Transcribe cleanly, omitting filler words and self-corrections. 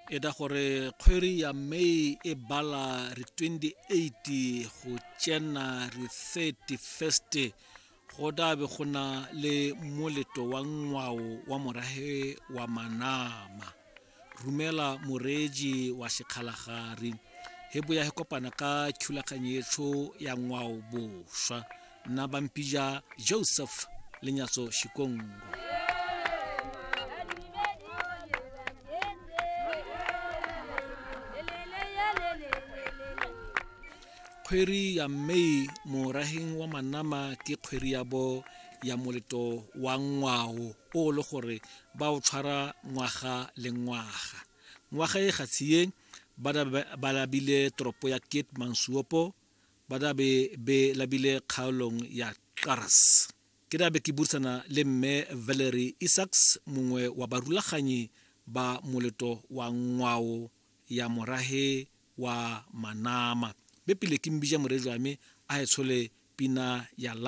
E da gore kgwedi ya May e bala re 28 go tsena re 31st go dabe go na le moleto wa ngwao wa morahe wa Manama. Rumela moreji wa sekgalagari he boya he kopana ka thulaganyetso ya ngwao boswa. Nna bampija Joseph Lenyatso Shikongo. Kgwedi ya May moraheng wa Manama ke kgwedi ya bo ya moleto wa ngwao o le gore ba o tshwara ngwaga le ngwaga. Ngwaga e gatshie ba labile toropo ya Keetmanshoop, ba dabe be labile kgaolong ya Qaras. Ke dabe ke buisana le mme Valerie Isaacs, mongwe wa barulaganyi ba moleto wa ngwao ya morahe wa Manama. Be pele ke mbija morejwa me a e tshole pina ya.